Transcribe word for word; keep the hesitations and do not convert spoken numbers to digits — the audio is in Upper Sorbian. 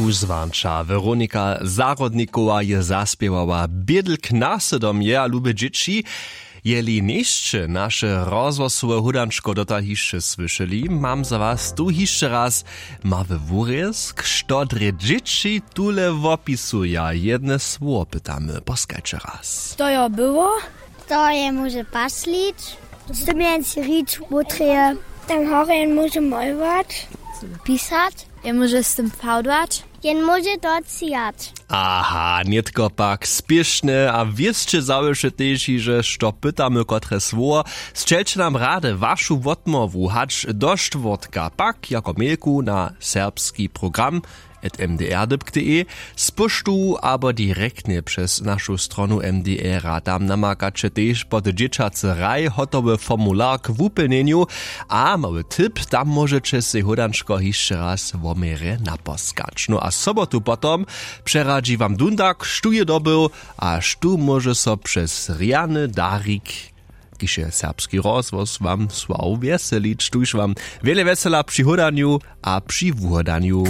Wuzwanča weronika zahrodnikowa je zaspěwała bědl k nasydom je a lube dźěći. Jeli njejsće naše rozhłosowe hódančko dotal hišće słyšeli, mam za was tu hišće raz mały wurězk, što drje dźěći tule wopisuja. Jedne słowo pytamy, poskajće raz. To jo było. To je móže paslić. Z tym jen si rić wutreje. Tam horje jen móže molować. Pisać. Jen móže z tym fałdłać. Jen móže docijać. Aha, nětko pak spěšne a wěsće zawěše tež hižo što pytamy kotre słowo. Sćelće nam rady wašu wotmołwu hač do štwórtka pak jako mailku na serbski program at mdr dypk de z poštu abo direktnje přez našu stronu mdr a tam namakaće tež pod dźěćacy raj hotowy formular k wupjelnjenju. A mały tip, tam móžeće sej hódančko hišće raz woměrje naposkać no a sobotu potom přeradźi wam dundak štó je dobył a štó móže so přez rjany darik, kiž je serbski rozhłos wam słał wjeselić tuž wam wjele wjesela při hódanju a při wuhodanju.